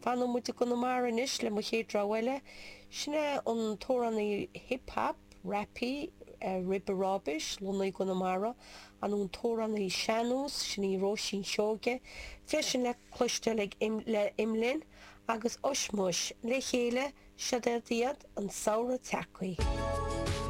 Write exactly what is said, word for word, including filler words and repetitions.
Fanfaidh muid i gConamara anois le mo chéad rogha eile, sin é an t-amhránaí hip hop, rapaí, Ribe Ráibeis, lonnaithe i gConamara, an an t-amhránaí sean-nós, sin í Róisín Seoige, freisin le cloisteáil ag le Imlinn agus Ushmush le chéile, siod iad an samhradh tagtha.